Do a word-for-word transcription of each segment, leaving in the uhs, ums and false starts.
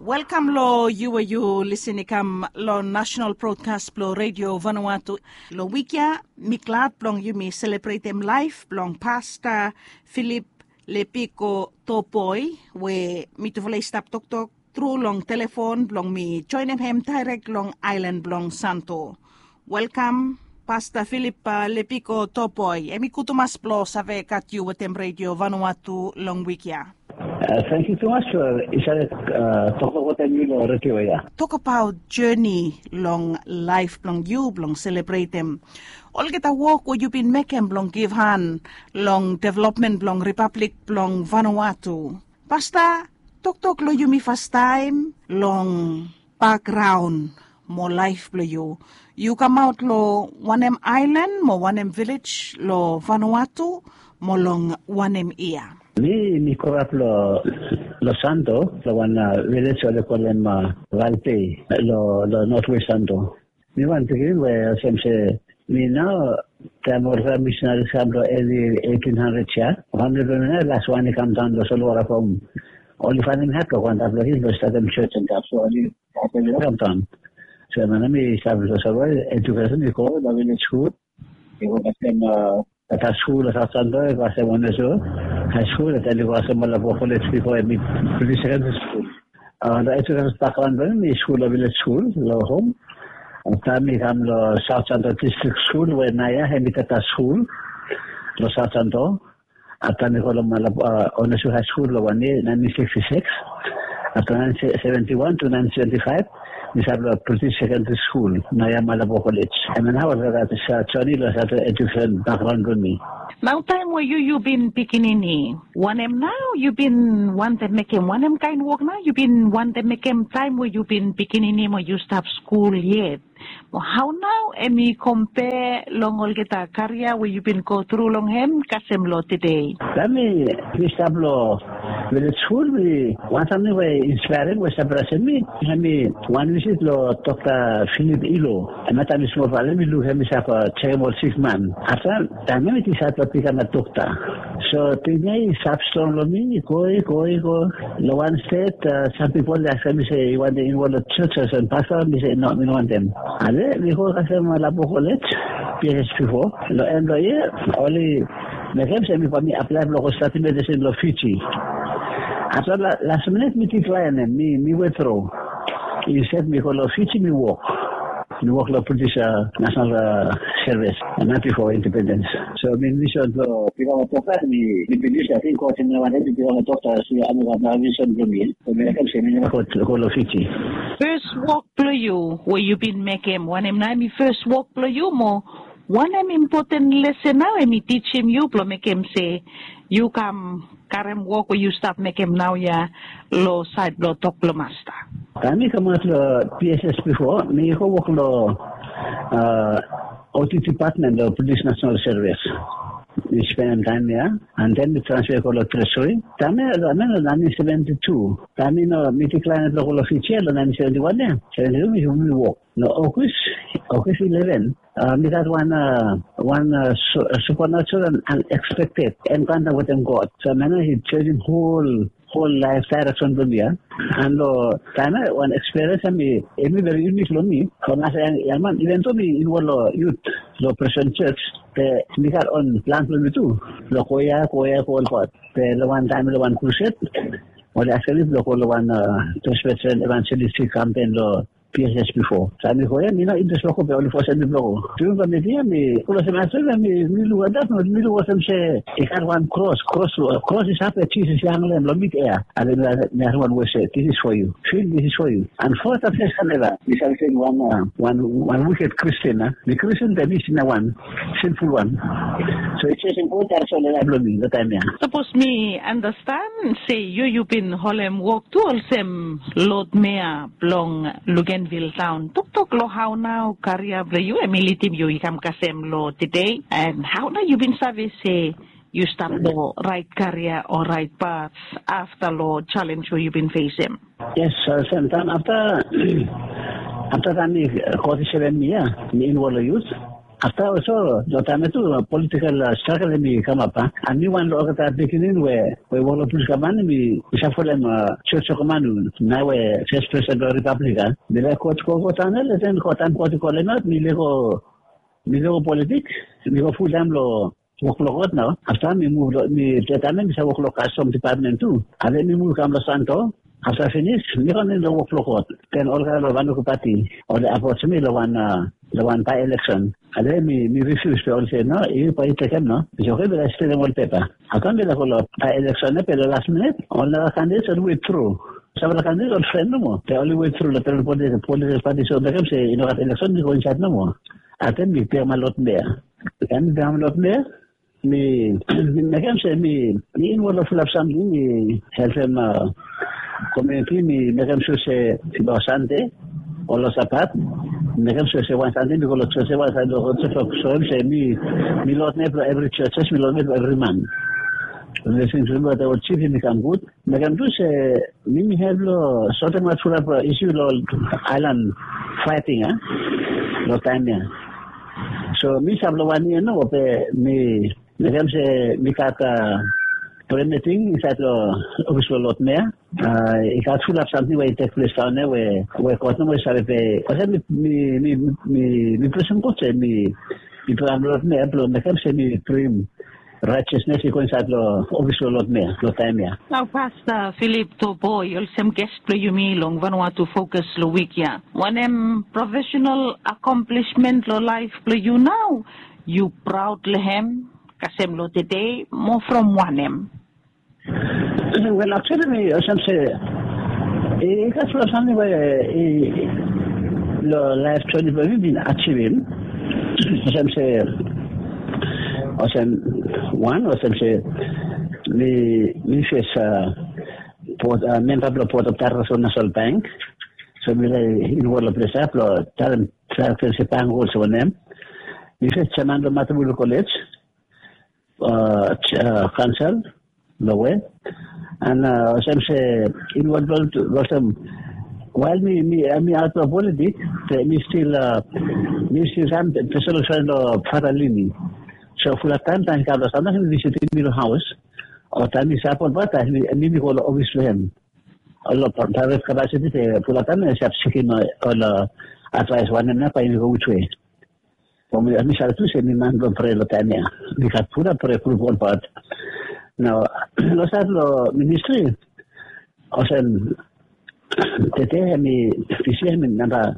Welkam long yu we yu lisin i kam long nasional brodkas blong Redio Vanuatu. Long wik ya mi glad blong yumi selebretem laef blong Pasta Philip Lepiko Toboi we mitufala i stap toktok tru long telefon blong mi joenem hem daerek long aelan blong Santo. Welkam, Pasta Philip Lepiko Toboi. Hem i gud tumas blong save gat yu wetem Redio Vanuatu long wik ya. Tangkiu tumas blong i save toktok wetem yu long redio ya. Tokabaot joni long laef blong yu blong selebretem olgeta wok we yu bin mekem blong givhan long developmen blong Ripablik blong Vanuatu. Pasta, toktok long yumi fastaem long bakgraon mo laef blong yu. Yu kamaot long wanem aelan mo wanem vilej long Vanuatu mo long wanem yia? Mi mi groap long Santo, long wan vilej we oli kolem Valpei, long notwest Santo. Mi wan pikinini we olsem se mi nao taem olgeta misinari i kam long eli eitin handred ya, famili blong mi nao las wan i kam daon long solwara from oli faenem hat blong go antap long hil blong statem jos antap. So oli kam daon. So em ya nao mi stap long solwara, ejukesen i go long vilej skul. I go kasem tata skul long Saot Santo, i go kasem Oneso hae skul, taem i go kasem Malabo Kolej bifo hem i bildim sekendri skul. Long ejukesen bakgraon blong mi, mi skul long vilej skul long hom. Afta mi kam long Saot Santo Distrik Skul we naoia hem i tata skul long Saot Santo. Afta mi go long Malabo Oneso hae skul long wan yia, naentin siksti sikis. Afta naentin seventi wan tu naentin seventi faef mi stap long British Sekendri Skul, naoia Malabo Kolej. Hem ya nao olgeta joni long sait ejukesen bakgraon blong mi. Nao taem we yu yu bin pikinini, wanem nao yu bin wantem mekem? Wanem kaen wok nao yu bin wantem mekem taem we yu bin pikinini mo yu stap skul yet? Mo hao nao hem i kompea long olgeta karia we yu bin gotru long hem kasem long tede? Taem mi stap long vilej skul, mi wan samting we i inspaerem we i stap blesem mi, hem i wan visit blong Dokta Philip Ilo. Hem ya taem mi smolfala mi luk hem i stap jekem ol sikman. Afta taem ya mi disaed blong bikam wan dokta. So ting ya i stap strong long mi, i go i go i go. Long wan stet sam pipol i askem mi se i wantem involv long jos olsem pasta, mi se no, mi no wantem. Ale mi go kasem Malabo Kolej, P S S bifo. Long en blong yia oli mekem se mi bae mi aplae blong go stadim medisin long Fiji. Afta las minit mi diklaenem, mi witdro. Insted mi go long Fiji mi wok. Mi wok long British National Service, nao bifo independens. So mi vison blong bikam wan dokta, mi bilif se ating God i no wantem mi bikam wan dokta, so ya mi gat nao vison blong mi. So mi mekem se mi no go long Fiji. Fes wok blong yu we yu bin mekem, wanem nao hem i fes wok blong yu mo wanem impoten lesen nao hem i tijim yu blong mekem se yu kam karem wok we yu stap mekem naoia long saed blong tok blong Masta? Taem mi kamaot long P S S bifo, mi go wok long O T dipatmen long British National Service. Mi spenem taem ya, and then mi transfer go long Treasury. Taem ya, long naentin seventi tu, taem mi no, mi diklaen blong go long Fiji ya long naentin seventi wan ya, seventi tu mi wok. Long Ogos, Ogos ileven, mi gat wan, wan supernatural and unexpected encounter wetem God. So hem ya nao i jenisim hol, hol laef daereksen blong mi ya. And long taem ya wan ekspiriens ya hem i veri yunik long mi. From as a yangman, iven do mi involv long yut long Presiden jos, be mi gat on plan blong mi tu blong go ya, go ya, go olbaot. Be long wan taem long wan krused, oli askem mi blong go long wan Presbiterian evanjelistik kampen long P S S bifo. Taem mi go ya, mi no interes blong go, be oli fosem mi blong go. During blong miting ya, mi klosem ai blong mi, mi luk antap, mi luk olsem se i gat wan kros, kros, kros i stap we Jisas i hangem long mitea. Ale mi askem wan wod se, "This is for you. Phil, this is for you." And for the first time ever, mi save se mi wan, wan wiked Kristin, a? Mi Kristin, be mi sinful wan, sinful wan. So i jenisim hol daereksen blong laef blong mi long taem ya. Sapos mi anastan se yu, yu bin holem wok tu olsem lod mea blong Luganville taon. Toktok long hao nao karia blong yu hem i lidim yu i kam kasem long tede, and hao nao yu bin save se yu stap long raet karia o raet path afta long jalenj we yu bin fesem? Yes, olsem taem afta, afta taem mi foti seven yia mi involv long yut. Afta olso lo taem ya tu, politikal strakel hem i kamap. A mi wan lo olgeta pikinini we we wok lo plis gavman mi save folem, jos jokoman, na we fes presiden blo ripablik a mi laik go go daon ya. Leten go taem kot i kolem aot, mi lego mi lego politik, mi go fultaem lo wok blo God nao. Afta mi muv lo mi taem ya mi save wok lo kastom dipatmen tu. Ale mi muv kam lo Santo. Afta finis mi go in lo wok blo God. Den olgeta lo Vanuku pati oli apos mi lo wan, lo wan bae eleksen. Ale mi mi rifius, be oli se no, yu bae yu tekem no. Mi se oke, mi laik stelem ol pepa. Afta mi laik go lo bae eleksen ya, be lo las minit ol nara kandidet oli witdro. Save ol kandidet ol fren nomo, be oli witdro lo tren politikal pati. So mekem se i no gat eleksen, mi go insaed nomo. Afta mi bekam lod mea. Taem mi bekam lod mea, mi mi mekem se mi mi involv lo fulap samting, mi helpem komuniti, mi mekem sua se lo Sande o lo Sabat, mi mekem sua se wan Sande mi go lo jos, wan Sande lo jos, blo soem se mi mi lod mea blo evri jos, mi lod mea blo evri man. Blesing blo ol jif i kam gud. Mekem tu se mi mi help lo sotem aot fulap isu lo aelan faeting a lo taem ya. So mi stap lo wan yia nao, be mi mekem se mi gat pre miting insaed lo ofis blo lod mea. I gat fulap samting we i tek ples daon ya we we God nomo i save, be olsem mi mi mi mi mi blesem God se mi mi bekam lod mea blo mekem se mi bringim righteousness i go insaed lo ofis blo lod mea lo taem ya. Nao Pasta Philip Toboi, olsem ges blo yumi long Vanuatu Focus lo wik ya, wanem profesenal akomplishment lo laef blo yu nao yu praod lo hem kasem lo tede, mo from wanem? Wel, aktuali mi olsem se i gat fulap samting we i lo laef joni blo mi bin ajivim. Olsem se olsem wan olsem se mi mi fes bot memba blo bot of daerektas blo National Bank. So mi laik involv lo ples ya blo talem daerekta se bank olsem wanem. Mi fes jeaman blo Matabele College, kansel lo we. An olsem se involv lo olsem wael mi mi mi aot lo politik, be mi stil mi stil kam pesol fren lo Fata Lini. So fulap taem taem i kam lo Santo mi visitim mi lo haos. O taem mi save ol brata mi mi go lo ofis blo hem. Ol lo praevet kapasiti, be fulap taem mi save sikim ol advaes wanem nao bae yumi go wiswe. Be mi mi save tu se mi man blo prea lo taem ya. Mi gat fulap prea grup olbaot. Nao lo saed lo ministri, olsem tede hemi disi hemi namba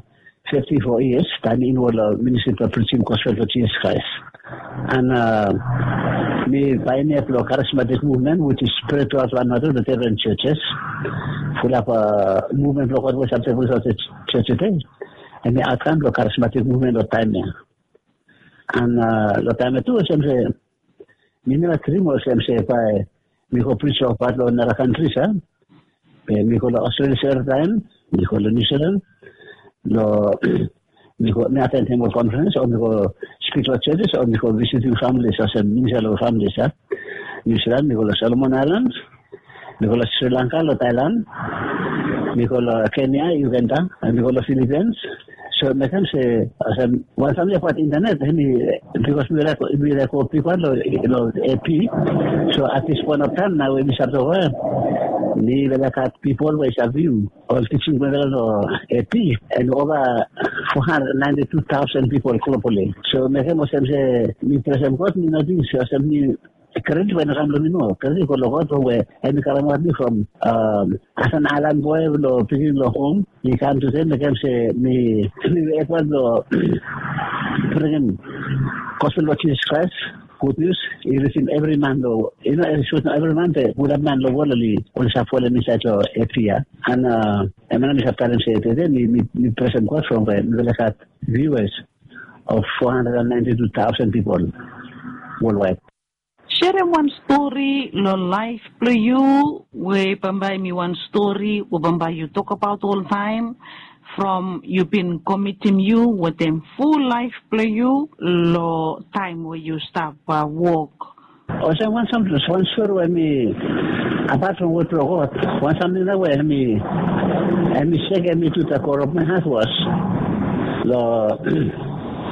fifti fo yias taem mi involv lo ministri blo prijim gospel blo Jisas Kraes. An mi paionia blo karismatik muvmen, which is spread throughout Vanuatu lo different churches. Fulap muvmen blo God we save tebol lo jos tede, hemi aotkam blo karismatik muvmen lo taem ya. An lo taem ya tu olsem se mi neva drim olsem se bae mi go pris lo God lo nara kantri sa. Be mi go lo Australia several taem, mi go lo New Zealand, lo mi go mi aten temple conference o mi go spik lo churches o mi go visitim families olsem minister lo families a. New Zealand, mi go lo Solomon Islands, mi go lo Sri Lanka, lo Thailand, mi go lo Kenya, Uganda, mi go lo Philippines. So mekem se olsem wan famili abaot internet, hemi bikos mi laik mi laik go bigwan lo lo A P. So at this point of time nao we mi stap tok ya, mi laik gat pipol we i save view ol teaching we mi laik lo A P, and over four hundred ninety-two thousand people globally. So mekem olsem se mi presem God, mi noting se olsem mi kredit we i no kam lo mi nomo. Kredit i go lo God we hemi karemaot mi from as an island boy lo pikinini lo hom. I kam tede mekem se mi mi able blo bringim gospel blo Jisas Kraes, gud nius, i risivim evri man lo, i no, i sot evri man, be fulap man lo wol oli oli save folem insaed lo A P ya. An hemia nao mi save talem se tede mi mi mi presem God from we mi laik gat viewers of four hundred and ninety-two thousand people worldwide. Serem wan stori lo laef blo yu we bambae hemi wan stori we bambae yu tokbaot oltaem, from yu bin komitim yu wetem ful laef blo yu lo taem we yu stap wok. Olsem wan samting, wan stori we hemi apaat from wod blo God, wan samting nao we hemi hemi sekem mi tu, the core of my heart was lo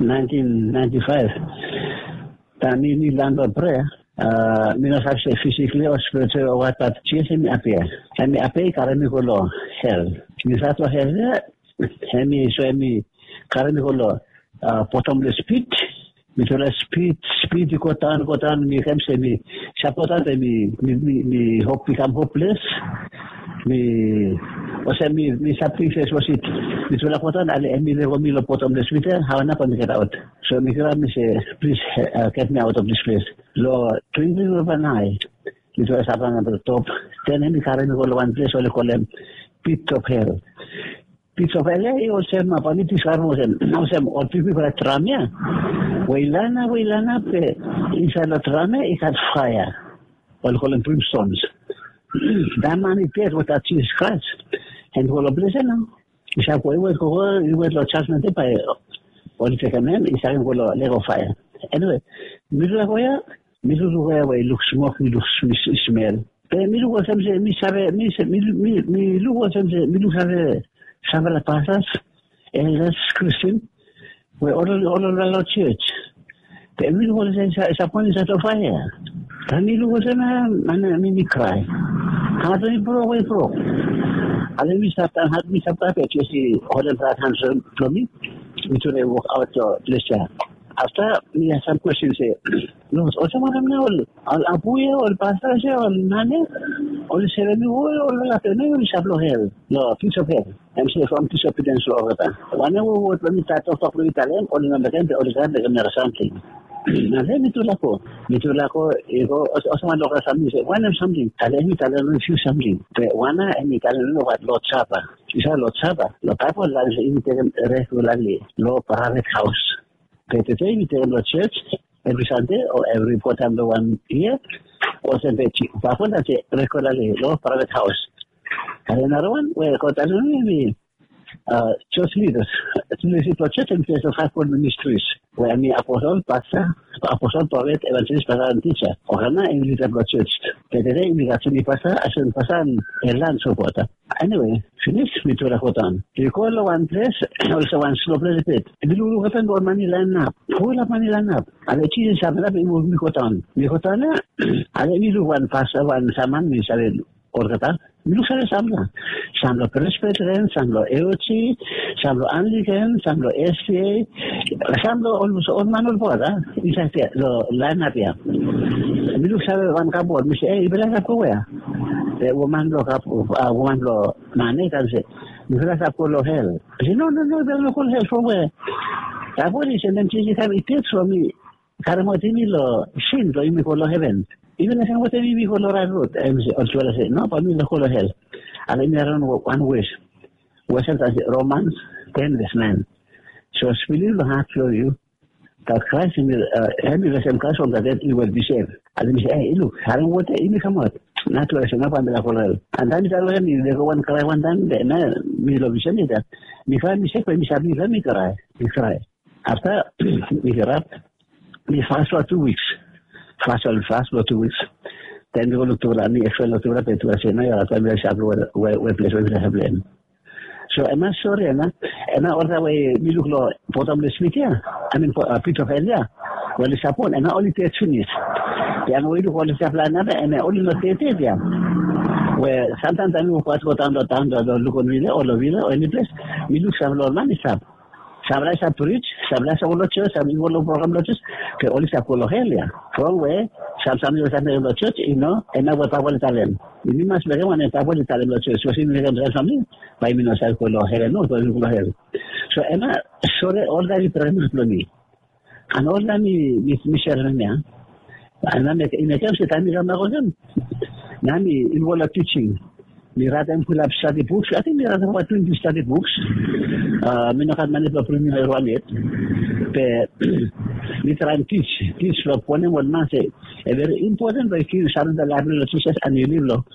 Nineteen ninety-five. Taem mi mi laen blong prea, mi no save se fisikli o spiritual o wat, bat Jisas hemi apia. Hemi apia i karem mi go long hel. Mi stat long hel ya, hemi so hemi karem mi go long bottomless pit. Mi tolek spit, spit i go daon, go daon, mi kam se mi save go daon, mi mi mi mi hop bikam hoples. Mi olsem mi mi save ting se sapos mi tolek go daon, ale hemi lego mi long bottomless pit ya, hao nao bae mi getaot? So mi kirap mi se, plis, get mi aot of dis ples. Long dringdring riva nae, mi tolek save long top. Den hemi karem mi go long wan ples oli kolem pit of hel. Pit of hel ya i olsem, bae mi diskraebem olsem, olsem ol bigfala dram ya we i laenap, we i laenap, be insaed long dram ya i gat faea, oli kolem brimstones. Taem man i ded without Jisas Kraes, hem i go long ples ya nao, i save go, i wet go, i wet long jajmen dei bae oli tekem hem, i save go long lek of faea. Eniwe, mi luk long ya, mi lukluk ya we i luk smok, i luk smel. Be mi luk olsem se mi save, mi se mi mi mi luk olsem se mi luk save, save long pastas, elders, Christian, we ol ol ol long church. Be mi luk olsem se i save go insaed long faea. Be mi luk olsem, man mi mi krae. Hat we i brok, we i brok. Ale mi stap, hat mi stap, be Jesi holem raet han blong mi. Mi tule wokaot long ples ya. Afta mi askem kwestin se, Lord, olsem wanem nao ol, ol abu ya, ol pastas ya, ol man ya, oli sevem mi we ol laplap ya oli stap long hel, long pit of hel? Hem se from disobedience long olgeta. Wanem we wod blong mi, toktok blong mi talem, oli no mekem, be oli gat mekem nara samting. Na den mi tulak go, mi tulak go, i go, olsem wan lokal samting se, wanem samting? Ale hemi talem long fiu samting. Be wan nao hemi talem long wat, Lord Supper. Yu save Lord Supper? Long Baebol i talem se yumi tekem regularli long praevet haos. Be tede yumi tekem long church evri Sande o evri fo taem long wan yia. Olsem be Baebol i talem se regularli long praevet haos. Ale narawan we God i talem long yumi, church leaders. Leadership blong church hemi ples long five fold ministries, we hemi aposol, pasta, aposol, profet, evangelist, pastor and teacher. Olgeta nao hemi leader blong church. Be tede yumi gat senior pastor, assistant pastor, and ela and so forth. Eniwe, finis, mi tule go daon. Mi go long wan ples, olsem wan slo ples i bit. Mi lukluk hepin, ol man i laenap. Fulap man i laenap. Ale Jisas i stap inap, i muv mi go daon. Mi go daon ya, ale mi luk wan pastor, wan shaman, mi save olgeta. Mi luk save samfala. Sam long Presbyterian, sam long A O G, sam long Anglican, sam long S D A, sam long olmos ol man olgeta insaed ya long laenap ya. Mi luk save wan kap ol, mi se, "E, yupela i stap go wea?" Be woman blong kap, woman blong man ya i talem se, "Mifala i stap go long hel." Mi se, "No, no, no, yupela no go long hel, from wea?" Baebol i se, nem Jisas i kam, i ded from mi, karemaot yumi long sin blong yumi go long heven. Yumi no save wetem yumi go long raet rod. Hemi se, olgeta se, "No, bae mi no go long hel." Ale yumi raon wan wes. Wes ya i talem se, Romans ten verse nine. Sapos yu bilif long hat blong yu dat Kraes hemi, hemi reskem Kraes from the dead, you will be saved. Ale mi se, "E, luk, harem wod ya, yumi kamaot." Nao tule se, "No, bae mi no go long hel." And taem mi talem long hem, mi lego wan krae wan taem, be nao mi long visen ya, mi krae, mi sek, be mi save, mi krae, mi krae. Afta mi kirap, mi fas long tu wiks. Fas, oli fas long tu wiks. Den mi go luk tufala, mi eksplaen long tufala, be tufala se, "No, yu gat, bae mi save long we, we ples we mi save long hem." So hemia stori hemia, hemia olgeta we mi luk long bottomless pit ya, I mean, pit of hel ya, we oli stap on, hemia oli ded finis. Be hemia we yu luk oli stap laen ya, hemia oli no ded yet ya. We samtaem taem mi wokaot go daon long taon, long, long Luganville o long Ville o eni ples, mi luk samfala ol man i stap. Samfala i save prij, samfala i save go long jos, samfala i go long program long jos, be oli save go long hel ya. From we sam samting we oli save mekem long jos i no, hemia we Baebol i talem. Yumi mas mekem wanem Baebol i talem long jos. Sapos yumi mekem rait samting, bae yumi no save go long hel, no, bae yumi go long hel. So hemia stori olgeta i bringim blong mi. And olgeta mi, mi, mi serem hemia. And nao i mekem se taem mi kambak olsem, nao mi involv long teaching. Mi raetem fulap stadi buks, ating mi raetem about twenty stadi buks. Mi no gat mane blong bringim evriwan yet. Be mi traem tij, tij blong bonem ol man se i veri impoten blong yu sarenda laef blong yu long Jisas and yu liv long.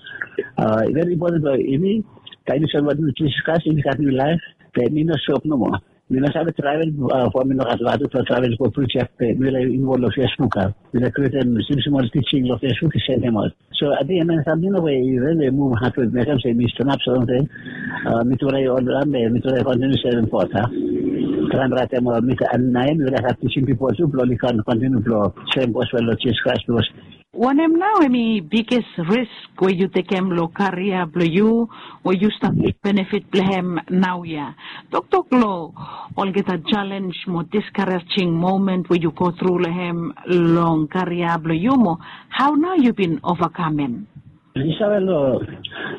I veri impoten blong yumi, taem yumi soem blong Jisas Kraes, yumi gat niu laef. Be mi no stop nomo. Mi no save travel, from mi no gat vatu blong travel go prij ya, be mi laek involv long Facebook ya. Mi laek krietem smol smol tijing long Facebook, i sendemaot. So ating hemia samting nao we i rili muvim hat blong mi, mekem se mi stanap strong se mi tufala i ol, be mi tufala i kontiniu serem God ya. Traem raetem, o, mi, na ia mi laik kisim pipol tu blong oli kontiniu blong serem gospel long Jisas Kraes, bikos wanem nao hemi biges risk we yu tekem long karia blong yu, we yu stap benefit blong hem naoia? Toktok long olgeta jalenj mo discouraging moment we yu go tru long hem long karia blong yu, mo hao nao yu bin ovakamem? Yu save, long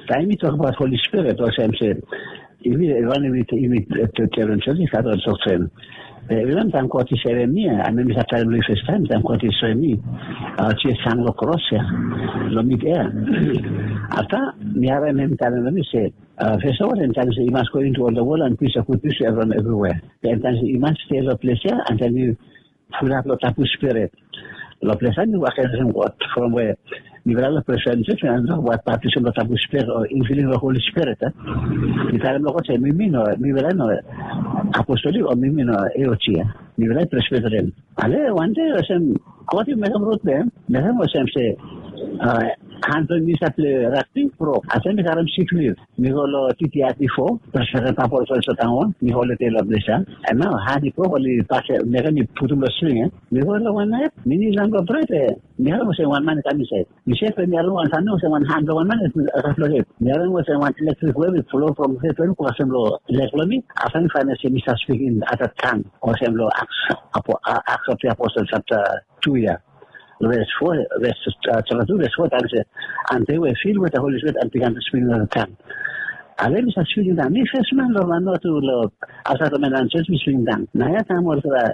taem mi tokbaot Holi Spirit, olsem se yumi, wan yumi, yumi, teren soti stap long tok tren. Be even taem God i sevem mi, a, mi save talem long yu fastaem, taem God i soem mi, a, Jisas i hang long kros ia, long mid ea. Afta mi harem hem i talem long mi se, a, first of all, hem i talem se, "You must go into all the world and preach the good news to everyone everywhere." Be hem i talem se, "You must stay long ples ia until yu fulap long Tabu Spirit." Long ples ia mi wok agen long God from we mifala long Presbyterian Church, mi no tokbaot baptism long Tabu Spirit o infilling long Holi Spirit, a. Mi talem long God se, "Mi, mi no, mifala no apostolic o mi, mi no A O G, a. Mifala Presbyterian." Ale wan dei olsem God i mekem rod blong hem, mekem olsem se, a, han blong mi i save plei ragbi brok. Afta mi karem sik liv. Mi go long T T R bifo, Presbyterian Bible Fellowship Tangon, mi holide long ples ia. An nao han i brok, oli pas, mekem mi putum long sling, e. Mi go long wan naet, mi nil daon long bred, e. Mi harem olsem wan man i kam insaed. Mi sek, be mi harem wan samting olsem wan han blong wan man i kam long hed. Mi harem olsem wan electric wave i flo from hed blong mi i go kasem long leg blong mi. Afta mi faenem se mi stap speak in other tongue, olsem long Acts, Apo-, a-, Acts of the Apostle chapter two ia. Verse four, verse, a, chapter two, verse four, talem se, "And they were filled with the Holy Spirit and began to speak in other tongue." Ale mi stap speak in tongue. Mi fes man long Vanuatu, long aotsaed long mainland church, mi speak in tongue. Naoia taem olgeta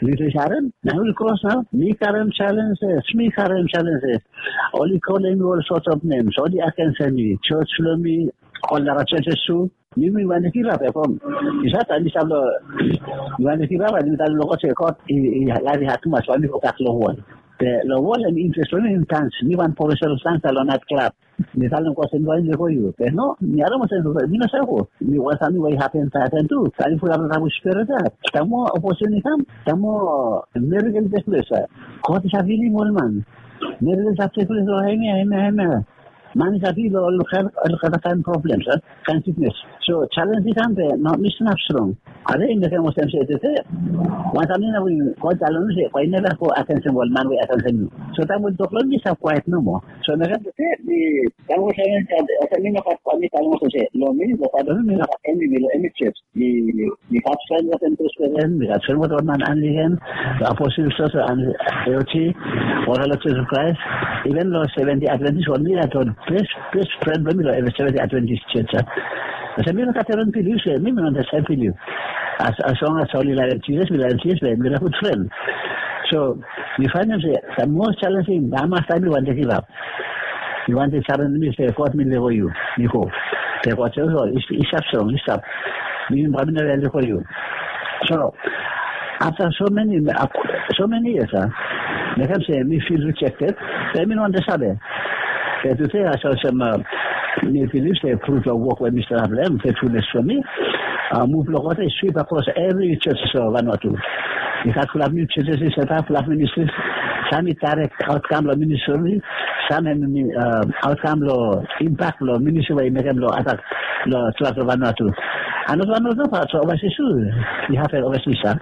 literature, nao oli kros nao. Mi karem challenges, mi karem challenges. Oli kolem mi ol sort of names, oli agensem mi, church blong mi, ol nara churches tu. Mi, mi wantem givap ia from, yu save, taem mi stap long, mi wantem givap, an mi talem long God se, "God, i, i, laef i had tumas, bae mi gobak long wol." Be long wol hemi interes blong mi, hemi dans. Mi wan professional dancer long night club. Mi talem God se, "Mi wantem lego yu." Be no, mi harem olsem mi no save go. Mi wantem, mi wantem hapen taem tu. Taem mi fulap long Tabu Spirit ia, taem moa opportunity i kam, taem moa miracle i tekples ia. God i save hilim ol man. Miracle i save tekples long hemia, hemia, hemia. Man i save long ol kaen, ol kaen problems, a, kaen siknes. So challenge i kam, be no, mi sanap strong. Ale i mekem olsem se tede, wan samting nao we God i talem long mi se, "Bae yu neva go agensem ol man we agensem yu." So taem oli tok long mi, mi stap kwaet nomo. So mekem tede mi, taem olsem, olsem mi no gat, mi talem olsem se, long mi, long God, mi no gat enemy long eni church. Mi, mi gat fren wetem Presbyterian, mi gat fren wetem ol man Anglican, Apostolic Church, an A O G, ol Church of Christ, even long Seventh-day Adventist, ol, mi gat ol best, best fren blong mi long Seventh-day Adventist Church ia. Olsem mi no gat different beliefs, mi, mi no gat different belief. As, as long as oli lavem Jisas, mi lavem Jisas, be mifala gud fren. So mi faenem se the most challenging, hamas taem mi wantem givap. Mi wantem surrender, mi se, "God, mi lego yu, mi go." Be God se, "O, yu, yu stap strong, yu stap. Mi, mi bae mi no lego yu." So after so many, so many years, a, mekem se mi feel rejected, be mi no wantem save. Be tede, as olsem, a, mi bilif se tru long wok we mi stap long hem, faithfulness blong mi, a, muv blong God i sweep across every church long Vanuatu. I gat fulap niu churches i set up, fulap ministries. Sam i direct outcome long ministry, sam hemi, a, outcome long impact long ministry we i mekem long other, long, throughout long Vanuatu. An olsem Vanuatu, but overseas tu, i hapen overseas, a.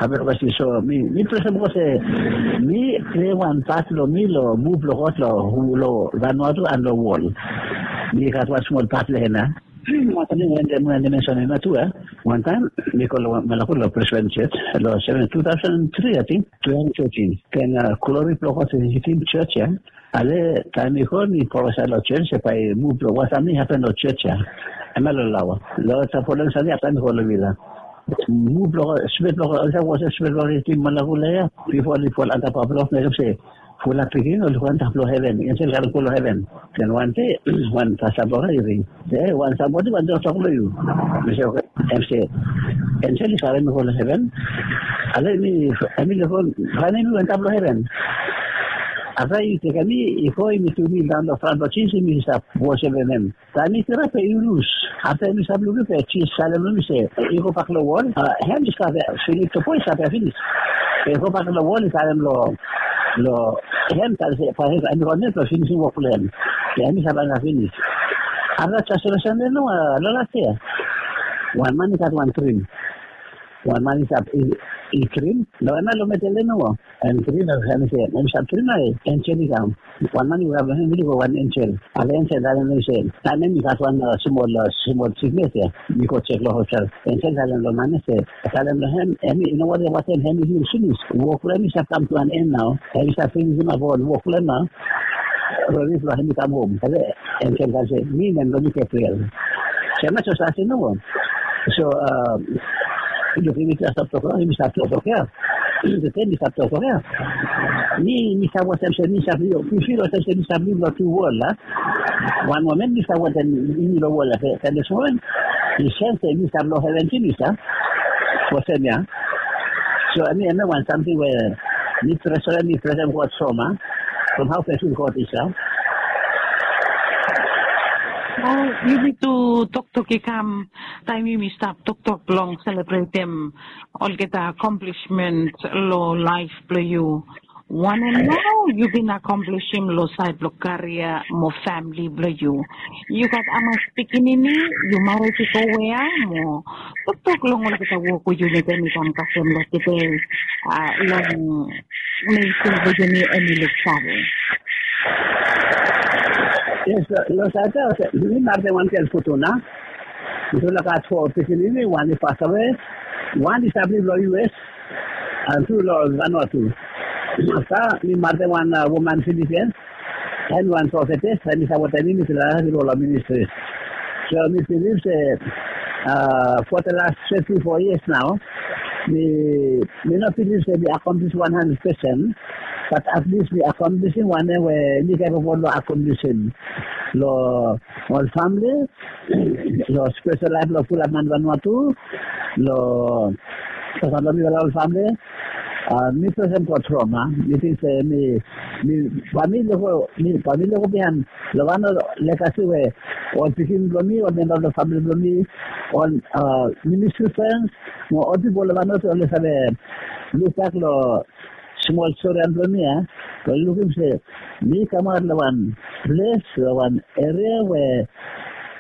Hapen overseas. So mi, mi presem God se mi plei wan pat blong mi long muv blong God long, long Vanuatu an long wol. Mi gat wan smol pat long hem ia. Wan samting we mi wantem mensenem ia tu, a. Wan taem mi go long Malakula long Presbyterian Church long seven, two thousand three, I think, two thousand thirteen. Then, a, glory blong God i hitim church ia. Ale taem mi go, mi profesae long church se bae muv blong, wan samting hapen long church ia. Hemia long laoa. Long sapoten Sande afta mi go long vila. Muv blong God, Spirit blong God, olsem olsem Spirit blong God i hitim Malakula ia. Pipol i fol antap blong mekem se fulap pikinini oli go antap long heven, ensel i karem go long heven. Then wan dei, wan pasta blong God i ring. Se, "E, wan somebody wantem toktok long yu." Mi se, "Oke." Hem se, "Ensel i karem mi go long heven." Ale mi, hemi lego, faenem mi antap long heven. Afta i tekem mi, i go, i mi tu mi daon long fran blong Jisas, mi stap wosipem hem. Taem mi kirap, i lus. Afta mi stap lukluk, be Jisas talem long mi se, "Yu gobak long wol." A, hem i stap ia, Filip, the boy i stap ia finis. Be i gobak long wol, i talem long, long hem, talem se bae hem i go nao blong finisim wok blong hem. Be hem i stap ia finis. Afta jes long Sande nomo, a, long las yia, wan man i gat wan drim. wan man i stap i dring. Lo ena lo metel ena wo. Em dring lo em se em stap dring na enjel i kam. Wan man i wok lo hem i go wan enjel. Ale enjel talem lo i se taem em i gat wan smol smol siknes ya. I go jek lo hotel. Enjel talem lo man ya se talem lo hem em i no wari watem hem i hil finis. Wok lo hem i stap kam tu an en nao. Em i stap finisim ap ol wok lo hem nao. Rorif lo hem i kam hom. Ale enjel talem se mi nem lo mi Gabriel. Sema so sa se no. So lukim mi stap toktok ya. Lukim mi stap toktok ya. Mi mi stap wantem se mi stap liv. Mi fil wantem se mi stap liv lo tu wol a. Wan momen mi stap wantem mi lo wol a. Kan de soen mi sen se mi stap lo heven finis a. Wantem ya. So mi em wan samting we mi presem mi presem God from a. From hao pesin God i stap. Yumi tu toktok i kam taem yumi stap toktok long selebretem olgeta akomplishment lo laef blong yu. Wanem nao yu bin akomplishim lo saed blong karia mo famili blong yu? Yu gat hamas pikinini? Yu mared i go wea? Mo toktok long olgeta wok we yu mekem i kam kasem lo tede long nesen blong yumi em i luk save. Yes, lo saed ya mi mared wantaem futuna. Mitufala gat fo pikinini, wan i pasawe, wan i stap liv lo U S, an tu lo Vanuatu. Afta mi mared wan woman Philippines, an wan profetes, an i stap wantem mi mitufala i go lo ministri. So mi bilif se for the last thirty four years nao, mi mi no bilif se mi akomplis wan handred pesen, bat atlis mi akomplisim wanem we mi kepabol lo akomplisim lo ol famili, lo spesel laef lo fulap man Vanuatu, lo lo mifala ol famili. Mi presem God from a, mi ting se mi mi bae mi lego mi bae mi lego bihaen lo wan legasi we ol pikinini blong mi, ol memba blong famili blong mi, ol ministri frens mo ol pipol lo Vanuatu oli save lukbak lo smol storian blong mi ya. Oli lukim se mi kamaot lo wan ples, lo wan eria we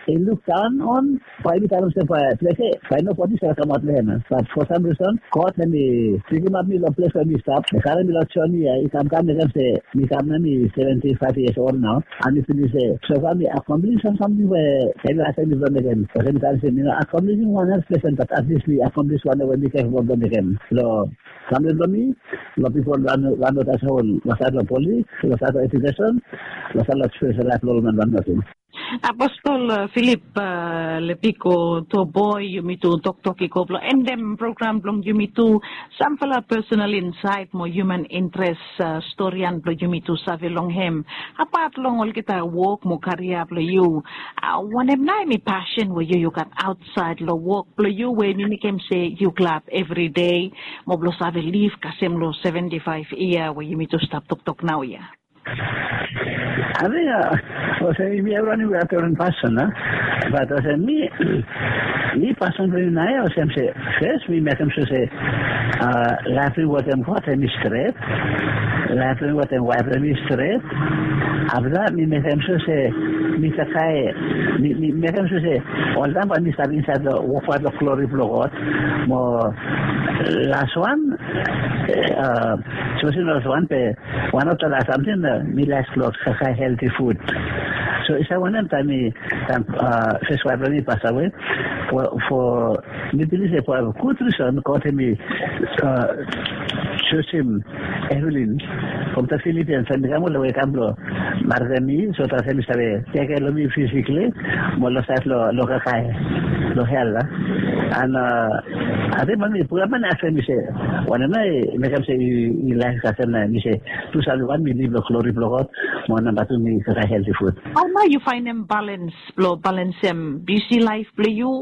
i luk daon on. Bae mi talem se bae ples ya bae nobodi save kamaot lo hem. Bat fo sam rison God hem i pikimap mi lo ples we mi stap, i karem mi lo joni ya, i kamkam mekem se mi kam na mi seventi faev yias ol nao. An mi filim se sofa mi akomplis sam samting we hem i askem mi blong mekem. Olsem mi talem se mi no akomplisim wan handred pesen, bat atlis mi akomplis wanem we mi kepabol blong mekem lo famili blong mi, lo pipol Vanuatu tasol, lo saed lo polis, lo saed lo ejukesen, lo saed lo spesel laef lo ol man Vanuatu. Apostol Philip Lepiko Toboi, yumi tu toktok i go blong endem program blong yumi tu. Samfala pesonal insaet mo hiuman intres storian blong yumi tu save long hem. Apat long olgeta wok mo karia blong yu, wanem nao hem i pasen we yu yu gat aotsaed lo wok blong yu we hem i mekem se yu glad evri dei mo blong save liv kasem lo seventi faev yia we yumi tu stap toktok naoia? Ave ya, olsem yumi evriwan yumi gat evriwan pasen a. Bat olsem mi mi pasen blong mi nao ya olsem se fes mi mekem sua se laef blong mi wetem God hem i stret. Laef blong mi wetem waef blong mi i stret. Afta mi mekem sua se mi kakae, mi mekem sua se oltaem bae mi stap insaed lo wokbaot lo glori blong God. Mo laswan, sapos i no laswan be wan of the last samting, mi laek lo kakae helti fud. So i save wanem, taem mi taem fes waef blong mi i pasawe, fo mi bilif se fo gud rison God hem i jusum Evelyn from the Philippines, hem i kam oltaem we i kam lo maredem mi, so that hem i save tekem kea lo mi fisikli mo lo saed lo kakae, lo hel a. An ating man mi pura man askem mi se wanem nao i mekem se i laef kasem nao, mi se tu samting, wan mi liv lo glori blong God, mo namba tu mi kakae helti fud. Hao nao yu faenem balens blo balensem bisi laef blo yu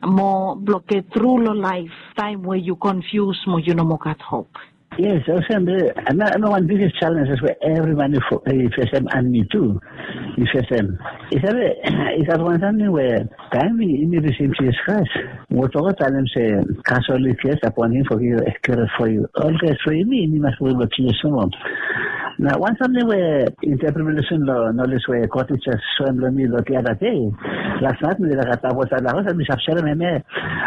mo blo get tru lo laef taem we yu konfius mo yu no moa gat hop? Yes, olsem be, em nao wan bigis jalenjes we evri man i fesem, an mi tu i fesem. I save, i gat wan samting we taem yumi risim Jisas Kraes, we tok i talem se, Catholic, yes, appointing for you, for you. Olgeta we yumi, yumi mas go long Jisas nomo. Na wan samting we interpretation lo nolis we God i jes soem lo mi lo the other day. Las nait mi laik gat Apostol Paul, mi save serem hemia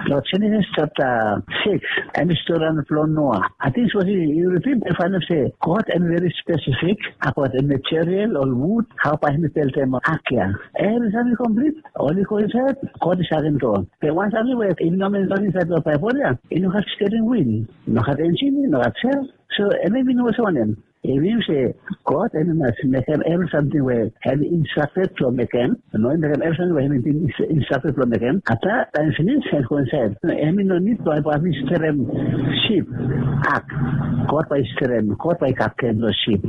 lo Genesis chapter six, hemi storian blo Noah. Ating sapos yu ridim, yu faenem se God hemi very specific about the material o wood, hao bae hemi buildim ark ia. Evri samting komplit, oli go insaed, God i sakem dua. Be wan samting we i no mention insaed lo Baebol ia, i no gat steering wheel, no gat engine, no gat sail. So hemia i min olsem wanem? I min se God hemi mas mekem evri samting we hemi instructed blo mekem. No, i mekem evri samting we hemi bin instructed blo mekem. Afta taem finis, hem i go insaed. Hemi no nid blo hem bae i stirem sip, ark. God bae i stirem, God bae i kapten lo sip.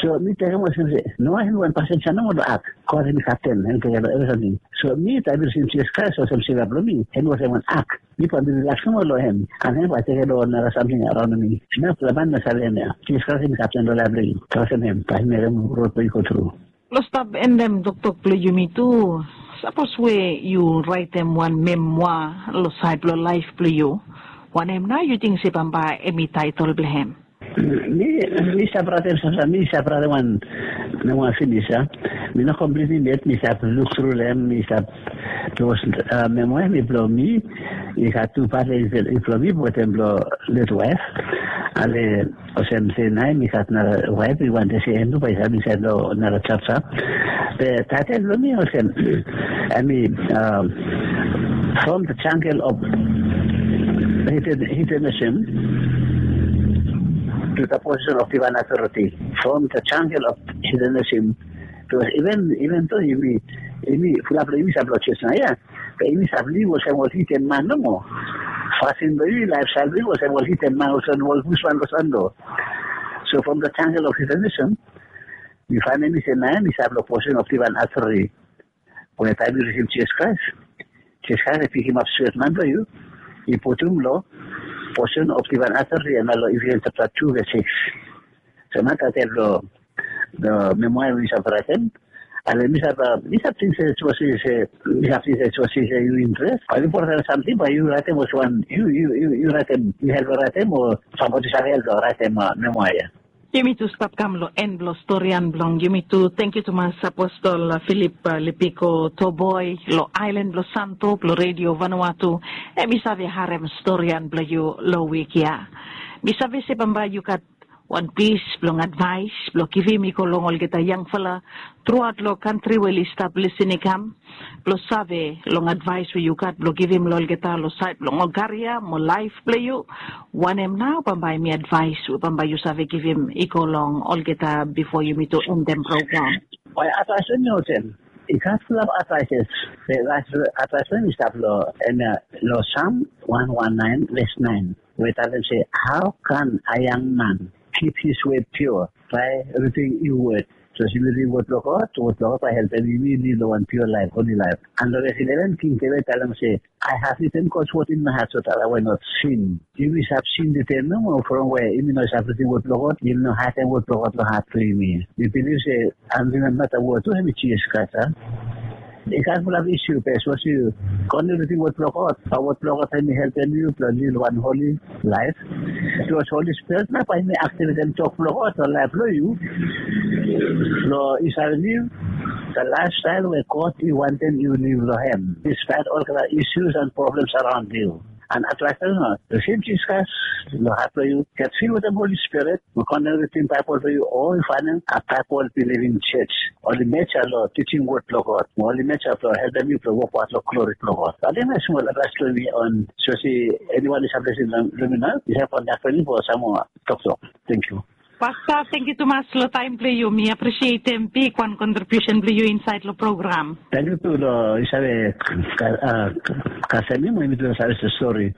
So mi tekem olsem se Noah hemi wan pasenja nomo lo ark. God hemi kapten, hemi tekem evri samting. So mi, taem mi risim Jisas Kraes olsem Sevia blo mi, hemi olsem wan ark. Mi bae mi rilaks nomo lo hem, an hem bae i tekem ol nara samting araon mi. Nao ol man i mas save hemia. Jisas Kraes hemi kapten lo laef blo yu. Trastem hem, bae hemi mekem rod blo yu i go tru. Lo stap endem toktok blo yumi tu, sapos we yu raetem wan memoa lo saed blo laef blo yu, wanem nao yu ting se bambae hemi taetol blo hem? Mi, mi stap raetem, stap, stap, mi stap raetem wan memoa finis ia. Mi no komplitim yet, mi stap luk tru lo hem, mi stap, bikos memoa ia hemi blo mi, i gat tu pat, i blo mi wetem blo let waef. Ale olsem se nao mi gat nara waef, i wantem se hem tu bae i stap insaed lo nara japjap. Be taetel blo mi olsem, hemi, From the Jungle of Hedonism to the Position of Divine Authority. From the Jungle of Hedonism. Bikos iven, iven do yumi, yumi, fulap lo yumi stap lo jos nao ia. Be yumi stap liv olsem ol hiden man nomo. Fasin blo yumi, laefstael blo yumi olsem ol hiden man, olsem ol busman lo sando. So from the jungle of hedonism, mi faenem mi se nao mi stap lo position of divine authority. We taem yu risim Jisas Kraes, Jisas Kraes i pikimap spirit man blo yu, i putum lo position of divine authority, hemia lo Ephesians chapter two verse six. So nao taetel blo, blo memoa we mi stap raetem. Ale mi stap, mi stap ting se, sapos se, mi stap ting se, sapos se yu interes, bae yu borem samting bae yu raetem, olsem wan, yu, yu, yu, yu raetem, yu help raetem, o somebody save help raetem memoa ia. Yumi tu stap kam lo en blo storian blong yumi tu. Tangkiu tumas Apostol Philip Lipiko Toboi lo aelan blo Santo blo Radio Vanuatu. Hemi save harem storian blo yu lo wik ia. Mi save se bambae yu gat wan pis blong advaes blo givim i go long olgeta yangfala truaot lo kantri we oli stap lisin i kam, blo save long advaes we yu gat blo givim lo olgeta lo saed blong ol karia mo laef blo yu. Wanem nao bambae hemi advaes we bambae yu save givim i go long olgeta bifo yumi tu endem program? Bae advaes we mi olsem, i gat fulap advaeses. Be advaes we mi stap lo, hemia lo Sam wan wan naen ves naen. We i talem se, how can a young man keep his way pure? By reading your word. So yumi ridim wod blo God, wod blo God bae helpem yumi liv lo wan pure laef, holi laef. An lo ves ileven, King Deved i talem se, I have written God's word in my heart so that I will not sin. Yumi stap sin tede nomo from we yumi no stap ridim wod blo God, yumi no harem wod blo God lo hat blo yumi. Mi bilif se, an rimemba wod tu hemi Jisas Kraes, a? I gat fulap isiu, be sapos yu kontiniu ridim wod blo God, bae wod blo God hemi helpem yu blo liv wan holi laef. Bikos Holi Spirit nao bae hemi aktivetem tok blo God lo laef blo yu, blo yu save liv the lifestyle we God i wantem yu liv lo hem, despite olgeta issues and problems around you. An advaes nao, risim Jisas Kraes lo hat blo yu, get filled wetem Holi Spirit, mo kontiniu ridim Baebol blo yu, o yu faenem a Baebol biliving jos. Oli meja lo tijing wod blo God, mo oli meja blo helpem yu blo wokaot lo glori blo God. Bae hemia smol advaes blo mi on, sapos eniwan i save lisin lo mi nao, yu save kontak mi blo sammoa toktok. Tangkiu. Pasta, tangkiu tumas lo taem blo yu. Mi apresietem bigwan kontribiusen blo yu insaed lo program. Tangkiu tu lo yu save kasem mi, mo yumi tu save stori.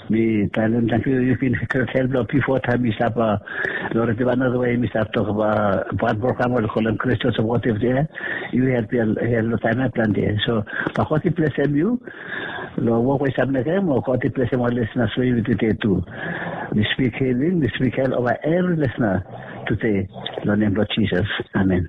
Mi talem tangkiu, yu bin gret help lo bifo taem mi stap lo Red River North we mi stap tokbaot wan program we oli kolem Grace Church of God F D A. Yu help ia lo taem ia plante. So bae God i blesem yu lo wok we yu stap mekem, o God i blesem ol listeners blo yumi tede tu. Mi spik healing, mi spik health ova evri listener tede lo nem blo Jisas. Amen.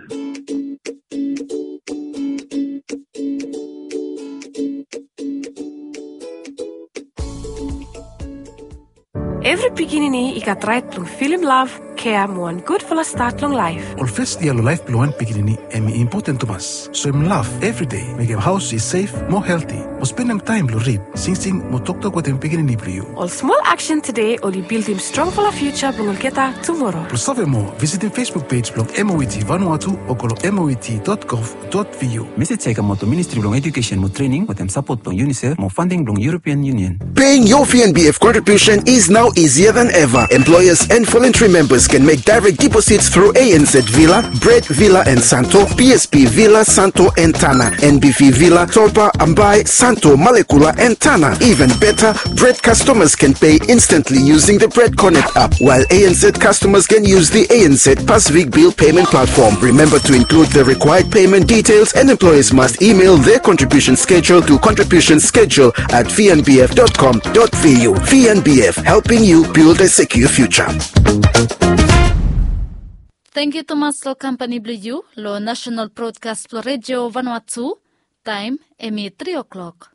Evri pikinini i gat raet blong filim lav kea mo wan gudfala stat long laef. Ol fes yia long laef blong wan pikinini hem i impoten tumas. So hem laf evri dei, mekem haos i sef mo helti, mo spendem taem blong rid, singsing mo toktok wetem pikinini blong yu. Ol smol aksen tede oli bildim strongfala fiuja blong olgeta tumoro. Blong save moa, visitim Facebook pej blong M O E T Vanuatu o go long M O E T dot gov dot V U. Mesej ya i kamaot long Ministri blong Ejukesen mo Trening wetem sapot blong UNICEF mo fanding blong European Union. Paying your V N B F contribution is now easier than ever. Employers and voluntary members can make direct deposits through A N Z Villa, Bread Villa and Santo, P S P Villa, Santo and Tana, N B V Villa, Topa, Ambae, Santo, Malekula and Tana. Even better, Bread customers can pay instantly using the Bread Connect app, while A N Z customers can use the A N Z Pacific Bill Payment Platform. Remember to include the required payment details, and employers must email their contribution schedule to contribution schedule at V N B F dot com dot V U. V N B F, helping you build a secure future. Tangkiu tumas long kampani blong yu long National Broadcast blong Redio Vanuatu. Taem hem i tri o'clock.